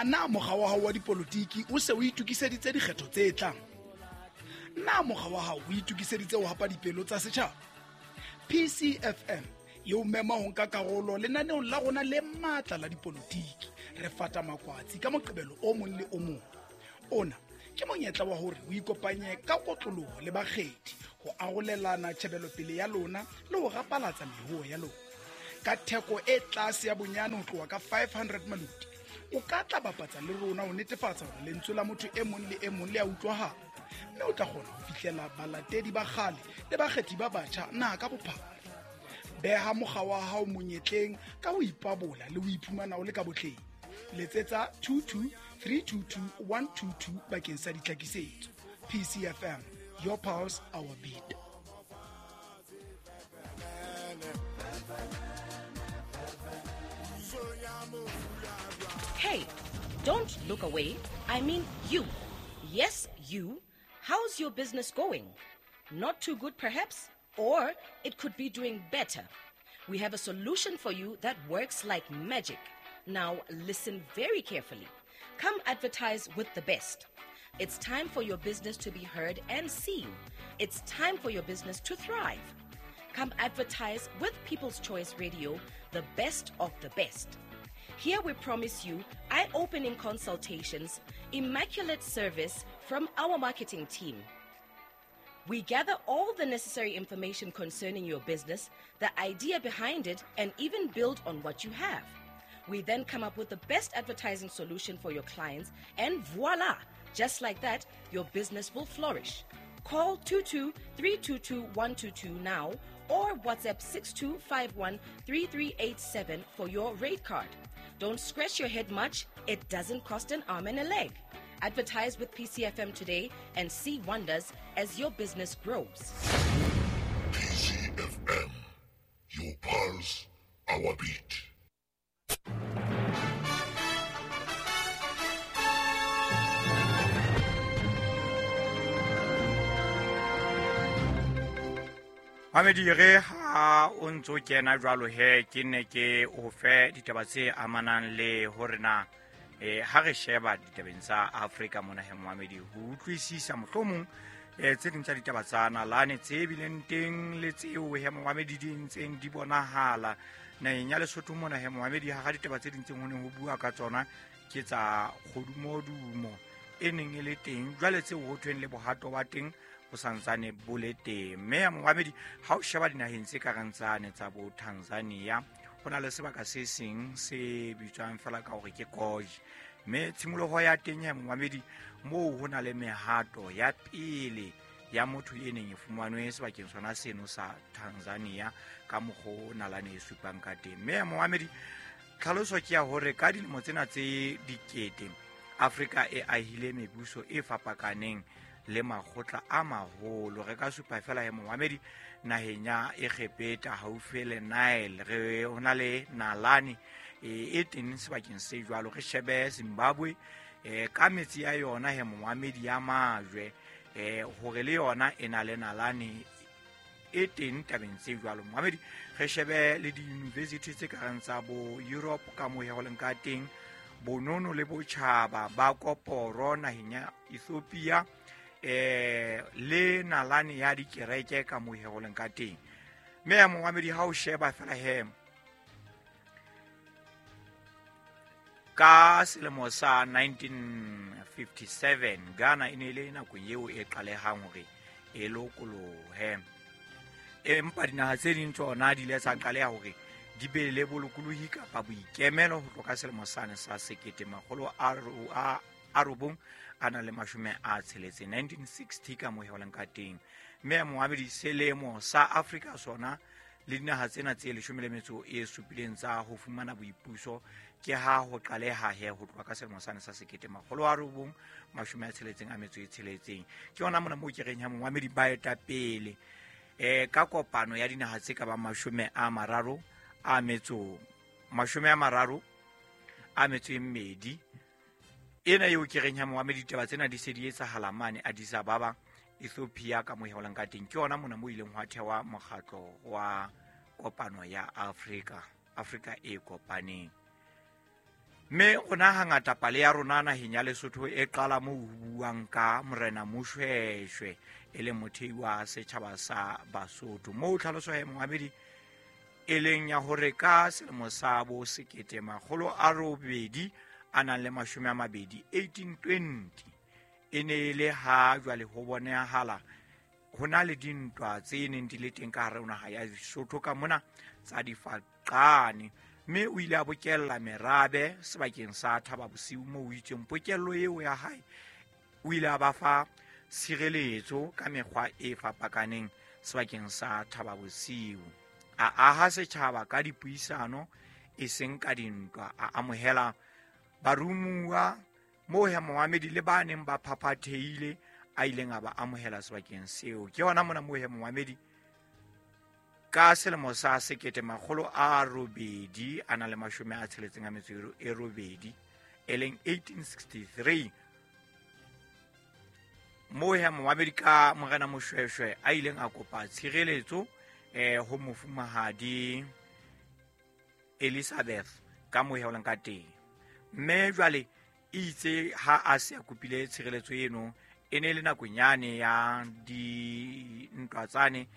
Na mokga wa hao wa dipolotiki o se o itokiseditse dikgetho tse tlang? Na mokga wa hao o itokiseditse ho hapa dipelo tsa setjhaba? PCFM e o mema ho nka karolo lenaneong la rona le matla la dipolotiki. Re fata makwatsi ka Moqebelo o mong le o mong. Ona ke monyetla wa hore o ikopanye ka kotloloho le bakgethi ho arolelana tjhebelopele ya lona le ho rapalatsa mehoho ya lona. Ka theko e tlase ya bonyane ho tloha ka 500 maloti, o ka tla bapatsa le rona ho netefatsa hore lentswe la motho e mong le e mong le a utlwahala, mme o tla kgona ho fihlela balatedi ba kgale le bakgethi ba batjha naha ka bophara. Beha mokga wa hao monyetleng ka ho ipabola le ho iphumana o le ka botleng. Letsetsa 22 322 122 bakeng sa ditlhakisetso. PCFM, your pulse, our beat. Hey, don't look away. I mean you. Yes, you. How's your business going? Not too good, perhaps? Or it could be doing better. We have a solution for you that works like magic. Now, listen very carefully. Come advertise with the best. It's time for your business to be heard and seen. It's time for your business to thrive. Come advertise with People's Choice Radio, the best of the best. Here we promise you eye opening consultations, immaculate service from our marketing team. We gather all the necessary information concerning your business, the idea behind it, and even build on what you have. We then come up with the best advertising solution for your clients, and voila! Just like that, your business will flourish. Call 22 322 122 now or WhatsApp 6251 3387 for your rate card. Don't scratch your head much, it doesn't cost an arm and a leg. Advertise with PCFM today and see wonders as your business grows. PCFM, your pulse, our beat. Mamedi, re ha o ntso kena jwalo he, ke ne ke o fe ditaba tse amanang le hore na ha re sheba ditabeng tsa Afrika mona he, Mohamedi, ho utlwisisa mohlomong tse ding tsa ditaba tsa nalane tse bileng teng le tseo he, Mohamedi, di ntseng di bonahala naheng ya Lesotho mona he, Mohamedi. Ha ditaba tse ding tse ho neng ho bua ka tsona ke tsa kgodumodumo e neng e le teng jwale, tseo ho thweng le bohato ba teng bo santsane bo le teng. Mme ya Mohamedi, ha o sheba dinaheng tse ka reng tsane tsa bo Tanzania, ho na le sebaka se seng se bitswang fela ka hore ke Gorge, mme tshimoloho ya teng ya Mohamedi moo ho na le mehato ya pele ya motho e neng e fumanwe sebakeng sona seno sa Tanzania ka mokgwa o nalane e supang ka teng. Mme ya Mohamedi, tlhaloso ke ya hore ka dilemo tsena tse dikete Afrika e ahile mebuso e fapakaneng le makgotla a maholo. Re ka supa fela he, Mohamedi, naheng ya Egepeta haufi le Nile re ho na le nalane e teng sebakeng se jwalo. Re shebe Zimbabwe ka metsi ya yona he, Mohamedi, ya majwe, hore le yona e na le nalane e teng tabeng tse jwalo. Mohamedi, re shebe le di-university tse ka reng tsa bo Europe ka moo he ho leng ka teng, bonono le botjhaba ba koporo naheng ya Ethiopia, le nalane ya dikereke ka moo he ho leng ka teng. Mme ya Mohamedi, ha o sheba fela he ka selemo sa 1957 Ghana e ne e le nakong eo e qalehang hore e lokolohe, empa dinaha tse ding tsona di ile tsa qaleha hore di be le bolokolohi kapa boikemelo ho tloha ka selemo sane sa 1960, 1960 ka moo he ho leng ka teng. Mme ya Mohamedi, selemo sa Afrika sona le dinaha tsena tse 17 tsa ho fumana boipuso ke ha ho qaleha he ho tloha ka selemo sane sa 1966. Ke yona mona moo ke reng ha Mohamedi, baetapele ka kopano ya dinaha tse ka bang 32 ena eo ke reng ha Mohamedi, ditaba tsena di se di etsahala mane Addis Ababa, Ethiopia ka moo he ho leng ka teng. Ke yona mona moo ileng hwa thewa mokgatlo wa kopano ya Afrika, Afrika e kopaneng. Mme rona hangata pale ya rona naheng ya Lesotho e qala moo ho buang ka Morena Moshweshwe e leng mothei wa setjhaba sa Basotho. Moo tlhaloso ya moamedi e leng ya hore ka selemo sa bo 1820 1820 e ne e le ha jwale ho bonahala ho na le dintwa tse neng di le teng ka hare ho naha ya Lesotho ka mona tsa difaqane. Mme o ile a bokella merabe sebakeng sa Thaba Bosiu moo o itseng pokello eo ya hae o ile a ba fa tshireletso ka mekgwa e fapakaneng sebakeng sa Thaba Bosiu. A aha setjhaba ka dipuisano e seng ka dintwa, a amohela barumuwa moo he moamedi le ba neng ba phaphathehile a ileng a ba amohela sebakeng seo. Ke hona mona moo he moamedi ka selemo sa 1868 e leng 1863 moo he moamedi ka Morena Moshweshwe a ileng a kopa tshireletso ho mofumahadi Elizabeth ka moo he o leng ka teng. Mme jwale itse ha a se a kopile tshireletso eno e ne le nakong yane ya dintwa tsane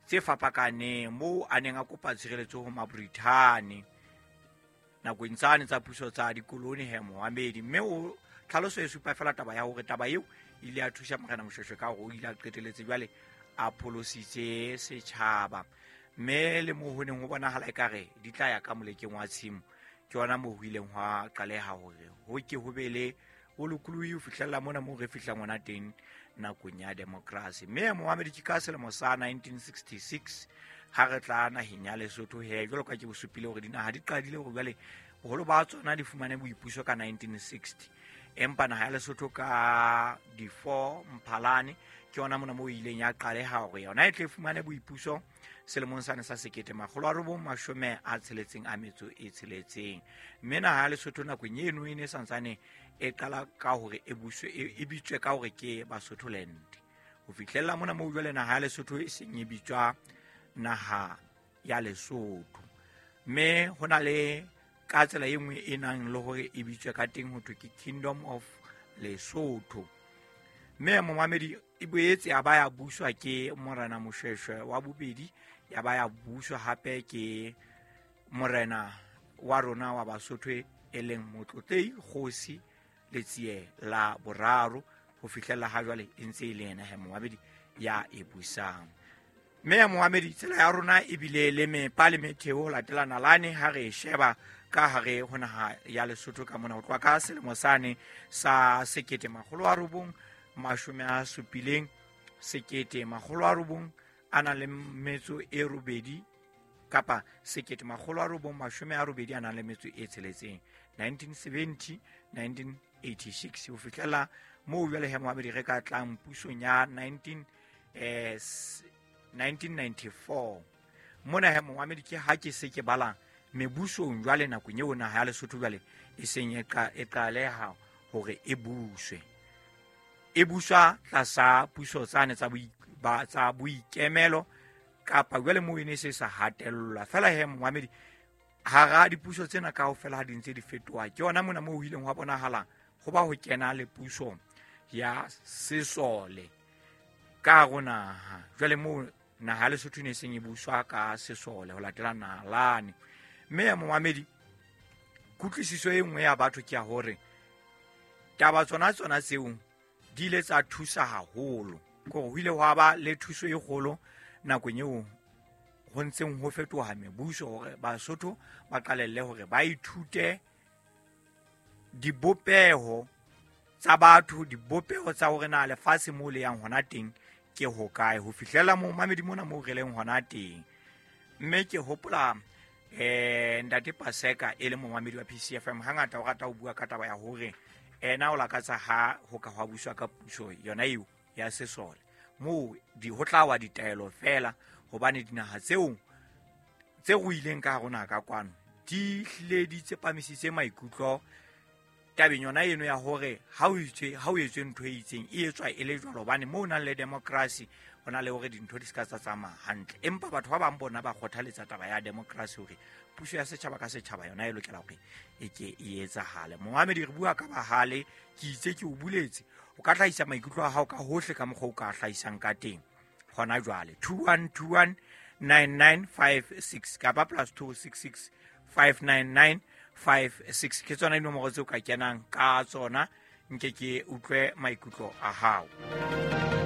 tse fapakaneng moo a neng a kopa tshireletso ho Mabrithani nakong tsane tsa puso tsa dikoloni he moamedi. Mme o tlhaloso e supa fela taba ya hore taba eo ile ya thusa Morena Moshweshwe ka hore o ile a qeteletse jwale a pholositse setjhaba. Mme le moo ho neng ho bonahala ekare di tla ya ka molekeng wa tshimo, ke yona moo ho ileng hwa qaleha hore ho ke ho be le bolokolohi ho fihlella mona moo re fihlang hona teng nakong ya demokrasi. Mme moamedi ke ka selemo sa 1966 ha re tla naheng ya Lesotho he jwalo ka ke bo supile hore dinaha di qadile hore jwale boholo ba tsona di fumane boipuso ka 1960, empa naha ya Lesotho ka di 4 Mphalane ke yona mona moo ileng ya qaleha hore yona e tle fumane boipuso selemong sane sa 1966. Mme naha ya Lesotho nakong eno e ne santsane e qala ka hore e buswe e bitswe ka hore ke Basotholand. Ho fihlella mona moo jwale naha ya Lesotho e seng e bitswa naha ya Lesotho. Mme ho na le ka tsela e nngwe e nang le hore e bitswe ka teng ho thwe ke Kingdom of Lesotho. Mme momamedi e boetse ya ba ya buswa ke Morena Moshweshwe wa bobedi, ya ba ya buswa hape ke Morena wa rona wa Basotho e leng Motlotlei Kgosi Letsie la boraro ho fihlella ha jwale e ntse e le yena he moamedi ya e busang. Mme moamedi tsela ya rona e bile le mepa le metheo ho latela nalane ha re sheba ka hare ho naha ya Lesotho ka mona ho tloha ka selemo sane sa 1970 1988 kapa 1986 1970 1986 ho fihlela moo jwale he moamedi re ka tlang pusong ya 1994. Mona he moamedi ke ha ke se ke bala mebusong jwale nakong eo naha ya Lesotho jwale e seng e qaleha hore e buswe, e buswa tlasa puso tsane tsa boikemelo kapa jwale moo e ne se sa hatellwa fela he moamedi. Hara dipuso tsena kaofela ha di ntse di fetoha, ke yona mona moo ho ileng hwa bonahala ho ba ho kena le puso ya sesole ka hare naha. Jwale moo naha ya Lesotho e ne seng e buswa ka sesole ho latela nalane. Mme ya moamedi kutlwisiso e nngwe ya batho ke ya hore taba tsona tseo di ile tsa thusa haholo, kore ho ile hwa ba le thuso e kgolo nakong eo ho ntseng ho fetoha mebuso hore Basotho ba qalelle hore ba ithute dibopeho tsa batho, dibopeho tsa hore na lefatshe moo le yang hona teng ke hokae, ho fihlela moo mamedi mona moo re leng hona teng. Mme ke hopola Ntate Paseka e le momamedi wa PCFM hangata o rata ho bua ka taba ya hore ena o lakatsa ha ho ka hwa buswa ka puso yona eo ya sesole moo di ho tla wa ditaelo fela, hobane dinaha tseo tse ruileng ka hare naha ka kwano di hlile di tsepamisitse maikutlo tabeng yona eno ya hore ha o etswe ntho e itseng e etswa e le jwalo, hobane moo o nang le democracy Ho na le hore dintho di se ka tsa tsamaya hantle, empa batho ba bang bona ba kgothaletsa taba ya democracy, hore puso ya setjhaba ka setjhaba yona e lokela hore e ke e etsahale. Moamedi, re bua ka bahale, ke itse ke o buletse, o ka hlahisa maikutlo a hao ka hohle ka mokgwa o ka hlahisang ka teng hona jwale. 2121 9956 kapa +266 599 56, ke tsona dinomoro tseo ka kenang ka tsona, nke ke utlwe maikutlo a hao.